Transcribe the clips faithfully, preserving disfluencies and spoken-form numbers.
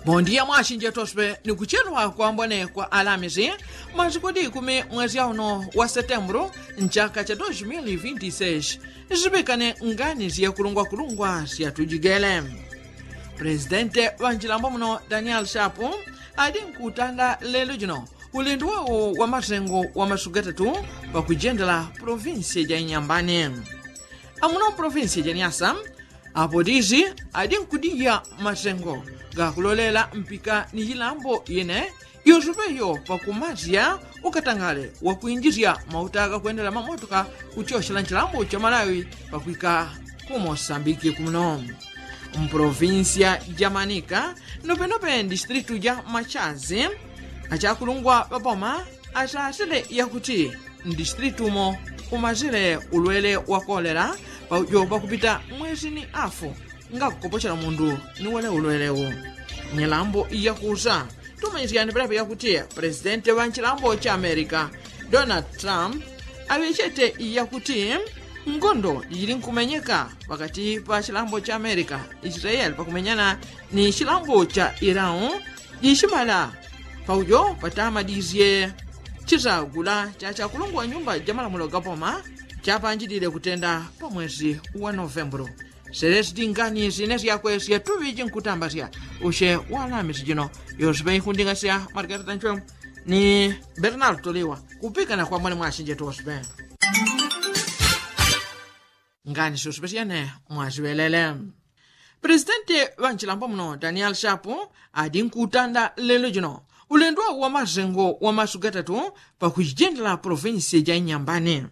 Bondia mwasinje tospe ni kuchelwa kwambone kwa alamisi, masikudi ikumi mwesi auno wa setembulu nchaka cha dos mili vinti seis. Sipikane ngani syakulungwakulungwa syatujigele. Presidente ŵa nchilambo muno daniel shapu adi nkutanda lelo jino ulendo wao wa masengo wa masuku gatatu pakujendela provinsi ja inyambani. Amuno provinsi ja nyasa apo disi adi nkudija masengo gakulolela mpika ni jilambo yene yosupe yo pakumasya ukatangale wakwinjisya mauta gakwendela mamotoka kutyoshela nchilambo cha malawi pakwika ku mosambiki kumuno. Mprovinsia ja manika nopenope ndisitilitu ja machazi achakulungwa ŵapoma asasile yakuti ndisitilitu mo umasile ulwele wa kolela paujo pakupita mwesi ni afu ngakukopochela mundu ni wele ulwele u. Nyilambo yakusa tumanyisyane pelepo yakuti presidente ŵa nchilambo cha amerika donald trump aŵechete yakuti ngondo jili nkumenyeka pakati pa chilambo cha amerika israeli pakumenyana ni chilambo cha irau jichimala paujo patamadisye chisagula cha chakulungwa nyumba ja malamulo gapoma chapanjidile kutenda pa mwesi wa novembulu. Selesi tingani sine syakwe syatuŵiji nkutambasya usye walamisi jino yosipe ikundingasya margarita nchwe ni bernal toliwa kupikana kwa mwene mwasinje tosipe. Ngani syosipe syene mwasiŵelele. Presidenti ŵa nchilambo muno daniel shapu adi nkutanda lelo jino ulendo wa masengo wa masuku gatatu pakuchijendela provinsi ja inyambani.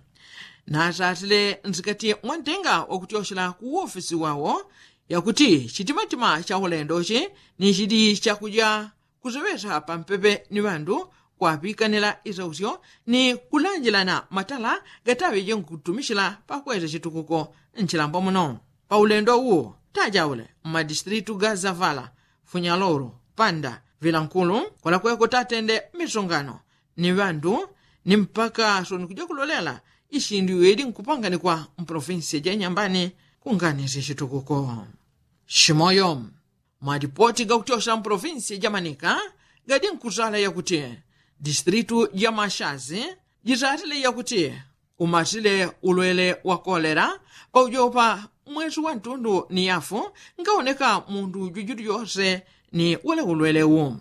Nasasile nsikati mwantenga wakutyoshela ku wofisi wawo yakuti chitimatima cha ulendo chi ni chidi chakuja kuseŵesa pampepe ni ŵandu kwaŵikanila isausyo ni kulanjilana matala gataŵeje nkutumishila pakweza chitukuko nchilambo muno. Paulendo uwu tajaule mmadisitilitu ga zavala funyalolo panda vilankulu kwalakweko tatende misongano ni ŵandu ni mpaka soni kuja kulolela isindu iweli nkupanganikwa mpolofinsi ja inyambani kunganisya chitukuko. Shimoyo mwadipoti gakutyosya mpolofinsi ja manika gadi nkuzala yakuti disitilitu ja mashazi jizatile yakuti umasile ulwele wa kolera paujopa mwesi wa ntundu ni yafu ngawoneka mundu jujutu jose ni wele ulwele u.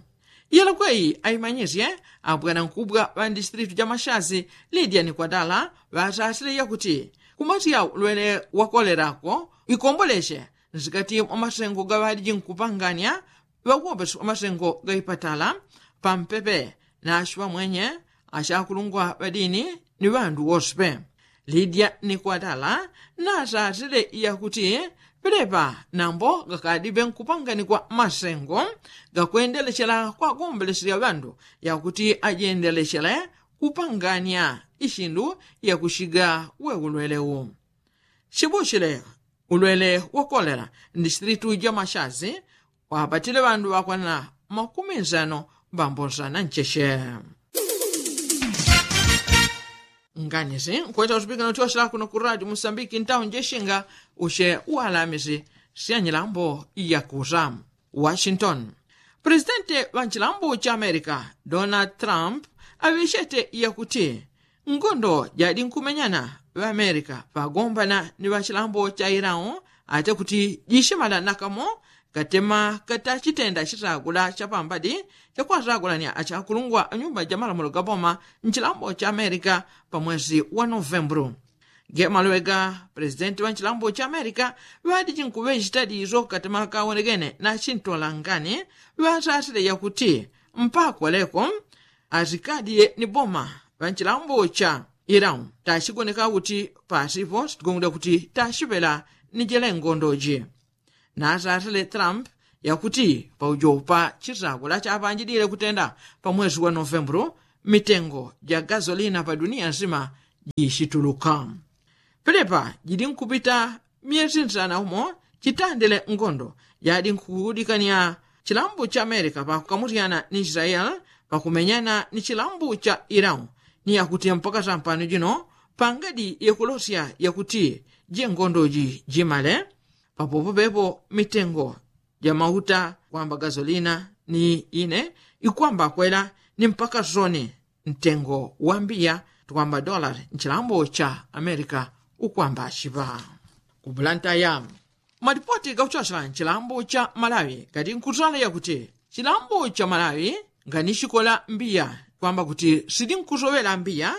Yelokweyi aimanyisye abwanankubwa ŵa ndisitilitu ja mashazi lidia ni kwadala ŵasasile yakuti kumasya ulwele wa kolera ko ikombolesye nsikati mwa masengo gaŵaliji nkupanganya ŵakuwombesa masengo gaipatala pampepe na ashi ŵamwenye ashakulungwa ŵadini ni ŵandu wosipe. Lidia ni kwadala nasasile yakuti pelepa nambo gakadipe nkupanganikwa masengo gakwendelechela kwagombelesya ŵandu yakuti ajendelechele kupanganya ishindu yakushiga we ulwele u. Chibushile ulwele wa kolera ndisitilitu ja mashazi wapatile ŵandu ŵakwana makumi nsano mbambo nsana ncheche. Nganisi nkweta utupikana utyoshela kuno ku radio musambiki ntawo njeshinga ushe walamisi syanyilambo yakusa. Washington. Presidenti ŵa nchilambo cha amerika donald trump aŵechete yakuti ngondo jadi nkumenyana ŵaamerika ŵagombana ni ŵachilambo cha irau ate kuti jishimala nakamo katema katachitenda chisagula chapambadi chakwasagulanya achakulungwa anyumba ja malamulo gaboma nchilambo cha amerika pa mwesi wa novembulu. Ge maluŵe ga presidenti ŵa nchilambo cha amerika ŵadiji nkuŵechita diso katema kawonekene na chintolangani ŵasasile yakuti mpaka leko asikadi ni boma ŵa nchilambo cha irau tachigoneka kuti pasipo sitigongole kuti tachiŵela ni jele ngondoji. Nasasile trump yakuti paujopa chisakula chapanjidile kutenda pa mwesi wa novembulu mitengo ja gasolina pa dunia nsima jishituluka. Pelepa jidi nkupita myesi nsana umo chitandile ngondo jadi nkudikania chilambu cha amerika pakukamusyana ni israeli pakumenyana ni chilambu cha irau ni yakuti mpaka sampano jino pangadi yakulosya yakuti jengondoji jimale. Papopo pepo mitengo ja mauta kwamba gasolina ni ine ikwamba kwela ni mpaka soni ntengo wa mbiya tukwamba dolari nchilambo cha amerika ukwamba chipa. Kupulantaya malipoti gakuchosela nchilambo cha malawi gati nkutala yakuti chilambo cha malawi nganichikola mbiya kwamba kuti sili nkusowela mbiya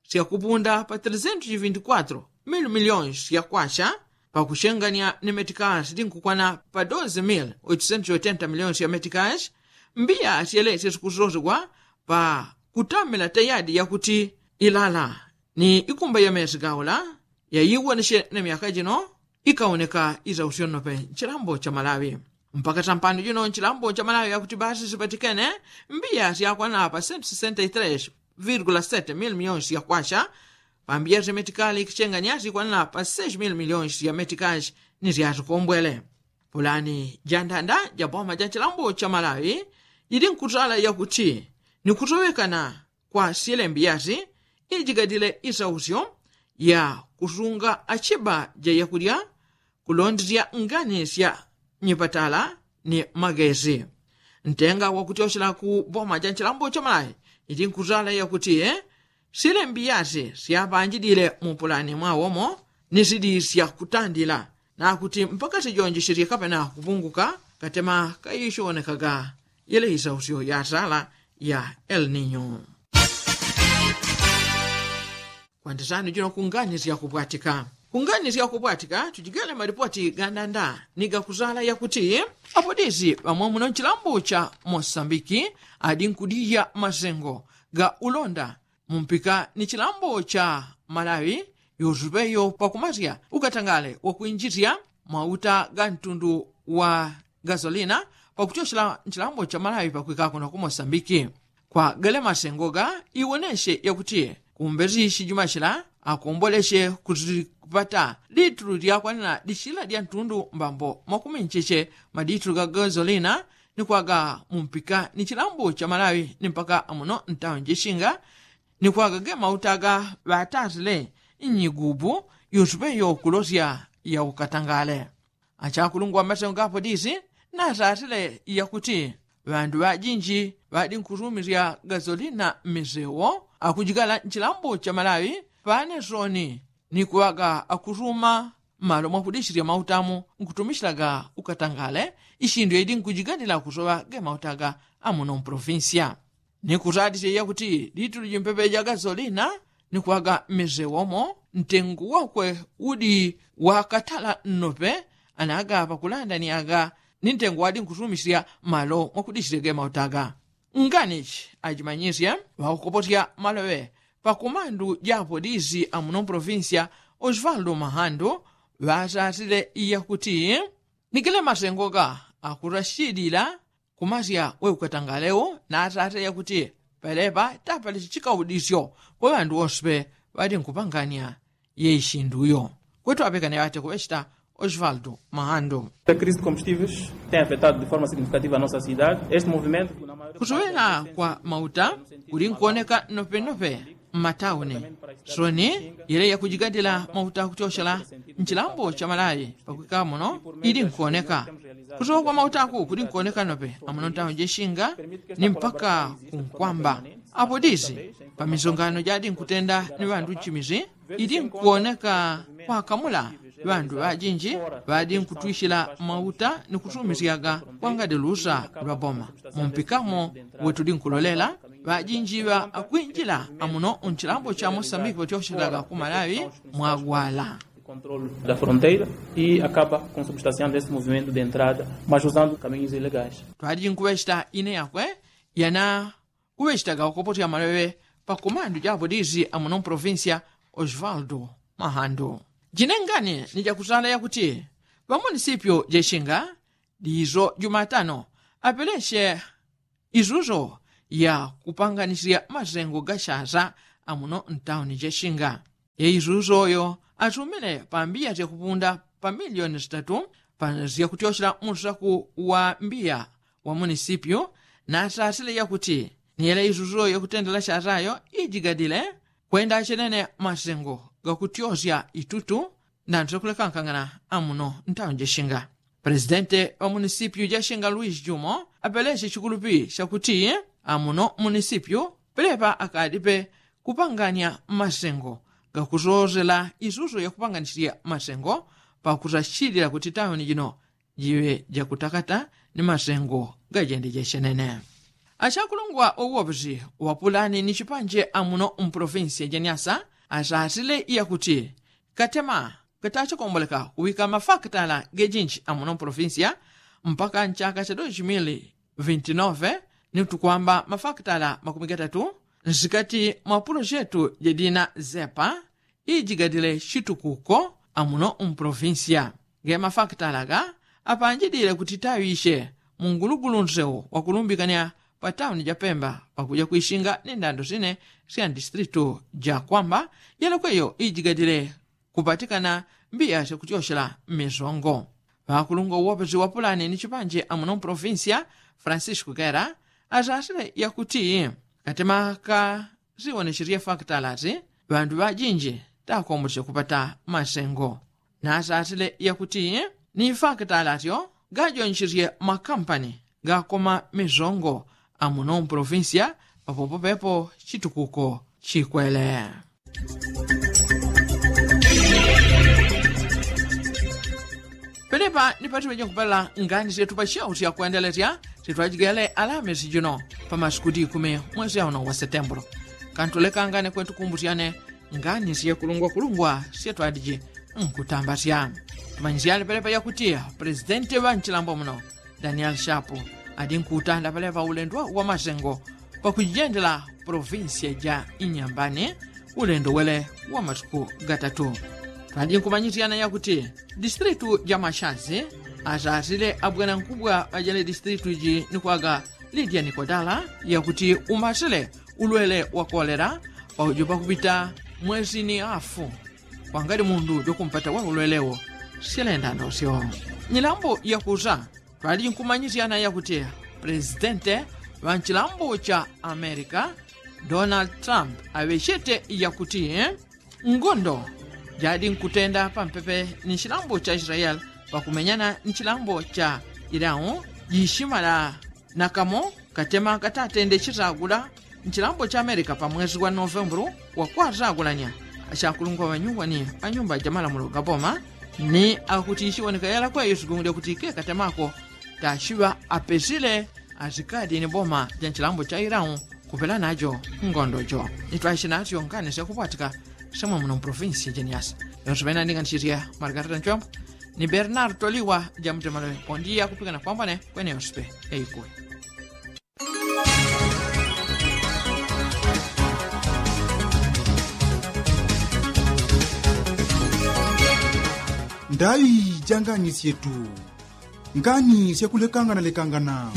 syakupunda pa tresento vinti kwatro mil miliyoni syakwacha pakuchenganya ni metikashi linkukwana pa doze mil oitosento oitenta miliyoni sya metikashi. Mbiya syelesye sikusosegwa pa kutamila tayadi yakuti ilala ni ikumba ya mesi gaula yaiwonesye na myaka jino ikaoneka isausyo nnope nchilambo cha malawi. Mpaka sampano jino nchilambo cha malawi yakuti basi sipatikene mbiya syakwana pa sento sesenta y tres virgula sete mil miliyoni sya kwacha. Pambiya sya metikali ikichenganya sikwanana pa seis mil miliyoni sya metikali ni syasikombwele. Pulani jandanda ja boma ja chilambo cha malawi jili nkutala yakuti ni kusowekana kwa syele mbiyasi ijigadile isausyo ya kusunga achiba ja yakulya kulondesya ngani sya nyipatala ni magesi. Ntenga wakutyochela ku boma ja nchilambo cha malawi iti nkutala yakuti sile mbiyasi syapanjidile mu pulani mwawomo ni sili syakutandila nakuti mpaka sijonji sili kapena kupunguka katema kaishonekaga yele isausyo ya sala ya el ninyo. Kwandisani jino kungani syakupwatika kungani syakupwatika tujigele malipoti gandanda ni gakusala yakuti apolisi ŵamwamuno nchilambo cha mosambiki adi nkudija masengo ga ulonda mumpika ni chilambo cha malawi yosupeyo pakumasya ukatangale wakwinjisya mauta ga ntundu wa gasolina pakutyochela nchilambo cha malawi pakwikako na ku mosambiki. Kwa gale masengo ga iwonesye yakuti kumbezi chijuma chila akomboleche kuzipata litulu lyakwanila lichila lya ntundu mbambo makumi ncheche maditulu ga gazolina ni kwaga mumpika ni chilambo cha malawi ni mpaka amuno ntawo njechinga ni kwaga ge mauta ga ŵatasile nnyigubu yusupe yokulosya yaukatangale. Achakulungwa mmasengo ga apolisi nasasile yakuti ŵandu ŵajinji ŵadi nkusumisya gazolina mmisewo akujigala nchilambo cha malawi pane soni ni kuŵaga akusuma mmalo mwakudichilya mautamu nkutumichilaga ukatangale ishindu yaidi nkujiganila kusoŵa ge mautaga amuno mpolofinsiya. Ni kusatisya yakuti litulu jimpepe ja gasolina ni kwaga mmisewomo ntengo wakwe udi wakatala nnope anaga pakulanda ni aga ni ntengo wadi nkusumisya mmalo mwakudichilya ge mautaga. Nganichi ajimanyisye ŵakukoposya maloŵe pakumandu ja apolisi amuno mpolofinsiya osvaldo mahandu ŵasasile yakuti ni gale masengo ga akurashidila kumasya we ukatangalewo nasasile yakuti pelepa tapali chikaudisyo kwa ŵandu wonse ŵadi nkupanganya ye ishindu uyo. Kwetu apekane ŵate kuŵechita osvaldo mahandu. Crise de combustíveis tem afetado de forma significativa a nossa cidade este movimento kusowela kwa mauta kuli nkuoneka nnopenope mmatauni soni yele yakujigadila mauta kutyochela nchilambo cha malawi pakwika muno ili nkuoneka kusowa kwa mautaku kuli nkuoneka nnope amuno ntauni jechinga ni mpaka kunkwamba apolisi pamisongano jadi nkutenda ni ŵandu nchimizi ili nkuoneka kwakamula ŵandu ŵajinji ŵadi nkutwichila mauta ni kusumisyaga kwangadi lusa lwa boma mumpikamo wetudi nkulolela ŵajinji ŵa akwinjila amuno nchilambo cha mosambiki ŵatyochelaga ku malawi mwagwala. Controle da fronteira e acaba com substanciando este movimento de entrada mas usando caminhos ilegais. Twadi nkuŵechita ine yakwe yana kuŵechitaga ukopotya maloŵe pa komandu ja apolisi amuno mprovincia osvaldo mahandu. Jinengani ni jakusala yakuti ŵamunisipyo jechinga dizo jumatano apeleche izuzo ya kupanganisila masengo ga shasa amuno ntauni jechinga. Ye izuzo yo asumile pambiya syakupunda pa milioni sitatu pa syakutyoshela musaku wa mbiya wa munisipyu nasasile yakuti ni yela izuzo yakutendela shasa yo ijigadile kwenda achenene masengo gakutyosya itutu ndandu syakulekankangana amuno ntauni jechinga. Presidente wa munisipyu ja shinga luis jumo apeleche chikulupi chakuti amuno munisipyu pelepa akadipe kupanganya masengo gakusoosela isuso yakupanganyichilya masengo pakusachilila kuti tauni jino jiŵe jakutakata ni masengo gajende jechenene. Achakulungwa uwoposi wapulani ni chipanje amuno mpolofinsiya ja nyasa asasile yakuti katema katachikomboleka kuŵika mafakitala gejinji amuno mpolofinsiya mpaka nchaka cha dos mil vinti nove ni tukwamba mafakitala makumi gatatu nsikati mwa pulojetu jadina zepa ijigadile chitukuko amuno mpolofinsiya. Ge mafakitala ga apanjidile kuti taŵiche mungulugulu nsewo wakulumbikanya pa tauni ja pemba pakuja kwishinga ni ndando sine sya ndistritu ja kwamba yelekweyo ijigadile kupatikana mbiya syakutyochela mmisongo. Ŵakulungwa uwoposi wa pulani ni chipanje amuno mpolofinsiya francisco kera asasile yakuti katema ka siwonecherye faktalasi ŵandu ŵajinji takomboche kupata masengo. Nasasile yakuti ni faktalasyo gajoncherye makampani gakoma misongo amuno mpolofinsiya papopo pepo chitukuko chikwele. Penepa ni patiŵeje nkupela ngani syetu pacheusya kwendelesya sitwajigele alamisi jino pa masiku dikumi mwesi auno wa setembulu. Kantulekangane kwentukumbusyane ngani syekulungwakulungwa syetwadiji nkutambasya. Tumanyisyane penepa yakuti presidenti ŵa nchilambo muno daniel shapu adi nkutanda paleŵa ulendo wa masengo pakujendela polofinsiya ja inyambani ulendo wele wa masiku gatatu. Twadi nkumanyisyana yakuti distritu ja mashazi asasile abwanankubwa ŵajele distritu ji nikwaga lidia nikodala yakuti umasile ulwele wa kolera paujo pakupita mwesi ni afu. Wangali mundu jokumpata wa ulwelewo silenda ndosyo. Nyilambo yakusa twali nkumanyisyana yakuti presidente ŵa nchilambo cha amerika donald trump aŵechete yakuti ngondo jadi nkutenda pampepe ni nchilambo cha israeli pakumenyana ni nchilambo cha irau jishimala nakamo katema katatende chitagula nchilambo cha amerika pa mwezi wa novembulu wakwatagulanya achakulungwa ŵanyuwani ŵanyumba jamalamulo gaboma ni akuti ichiwoneka yalakweyo sigungulya kuti kekatemako tachiŵa apesile asikadi ni boma ja nchilambo cha irau kupela najo ngondo jo. Nitwaishe nasyo ngani syakupwatika semwe muno mpolofinsi jeniasi yonse ŵena ndinganisisye margarita nchombo ni bernard toliwa jamutemalowe pondiya kupikana kwambone kwene yonse pe yaikuwe. Ndaŵi ja ngani syetu ngani syakulekanganalekangana.